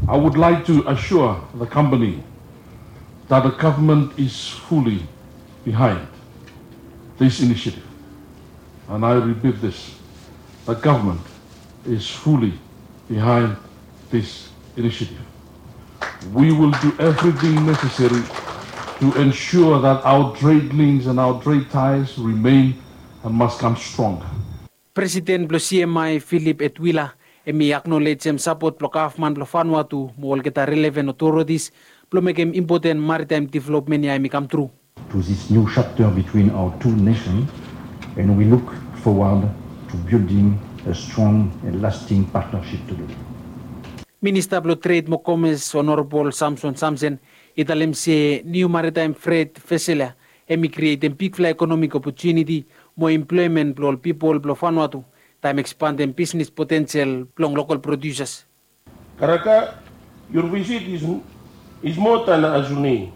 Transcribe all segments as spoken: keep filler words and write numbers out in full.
I would like to assure the company that the government is fully behind this initiative. And I repeat this, the government is fully behind this initiative. We will do everything necessary to ensure that our trade links and our trade ties remain and must come stronger. Presiden blong C M I, Philip Etuila, hemi aknolejem sapot blong gavman blong Vanuatu mo olgeta relevan otoritis blong mekem impoten maritaem developmen ya hemi kamtru. To this new chapter between our two nations, and we look forward to building a strong and lasting partnership together. Minista blong Tred mo Komes, Honorabol Samson Samsen, i talem se niu maritaem fret vesel ya hemi krietem bigfala ekonomik opotuniti mo emploemen blong ol pipol blong Vanuatu, taem ekspandem bisnes potensel blong lokol prodiusas. Karaka, your visit is, is more than a journey.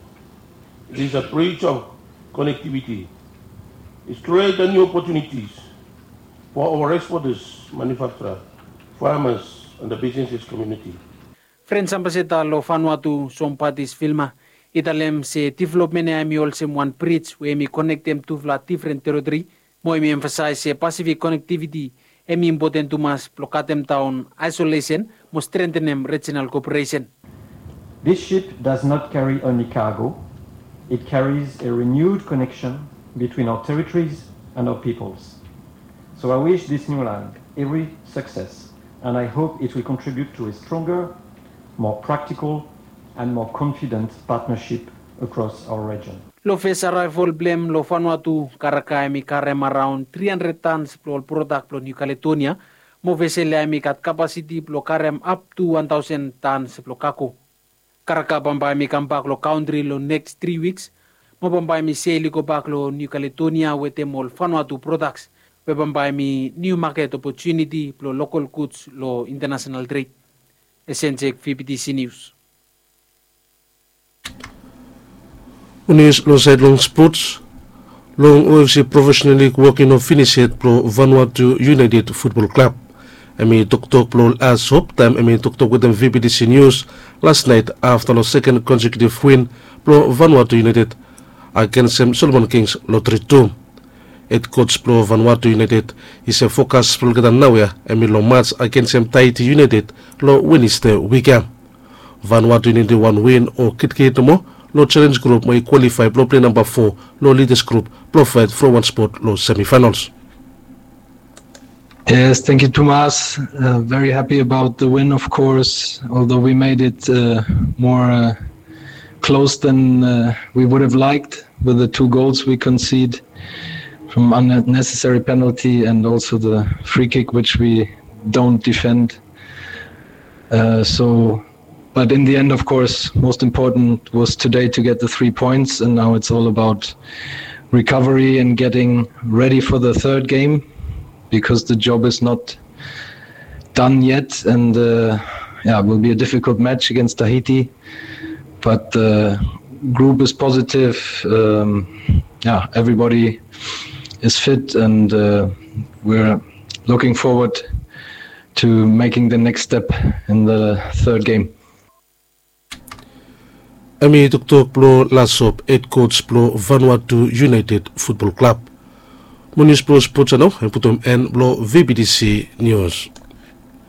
It is a bridge of connectivity. It's create a new opportunities for our exporters, manufacturer, farmers, and the businesses community. Frens Ambasada long Vanuatu, Sombatis Vilma, i talem se developmen ya hemi olsem wan brij we hemi konektem tufala difren teritori, mo hemi emfasaes se Pasifik konektiviti hemi impoten tumas blong katemdaon aesolesen mo strengtenem rejinal koperesen. This ship does not carry only cargo, it carries a renewed connection between our territories and our peoples. So I wish this new line every success, and I hope it will contribute to a stronger, more practical, and more confident partnership across our region. Long fes araevol blong hem long Vanuatu, Karaka hemi karem araon tri handred tans blong ol prodak blong Niu Kaledonia, mo vesel ya hemi gat kapasiti blong karem aptu wan taosen tans blong kago. Karaka bambae hemi kambak long kantri long neks tri wiks, mo bambae hemi sel i gobak long Niu Kaledonia wetem ol Vanuatu prodaks, we bambae hemi niu maket opotuniti blong lokol guds long intanasenal tred. Esenjek, V B T C Nius. Nius long saed long spots. Long O F C Profesenal Lig wok i no finis yet blong Vanuatu United Futbol Klab. Hemi toktok blong Las Hop taem hemi toktok wetem V B T C Nius las naet afta long seken konsekiutiv win blong Vanuatu United agensem Solomon Kings long tri tu. Hed koj blong Vanuatu United i se fokas blong olgeta naoia hemi long maj agensem Tahiti United long Wenesde wik ya. Vanuatu i nidim wan win o kitkit nomo long Challenge Group mo i kwalifae blong plei namba fo long Leaders Group blong faet from wan spot long semifinals. Yes, thank you, Tomas. Uh, very happy about the win, of course, although we made it uh, more uh, close than uh, we would have liked with the two goals we concede from unnecessary penalty and also the free kick, which we don't defend. Uh, so, but in the end, of course, most important was today to get the three points, and now it's all about recovery and getting ready for the third game, because the job is not done yet, and uh, yeah, it will be a difficult match against Tahiti, but the group is positive. Um, yeah, everybody is fit, and uh, we're looking forward to making the next step in the third game. Hemi toktok blong Las Hop hed koj blong Vanuatu United Futbol Klab. Mo nius blong spots ya nao hemi putum en blong V B T C Nius.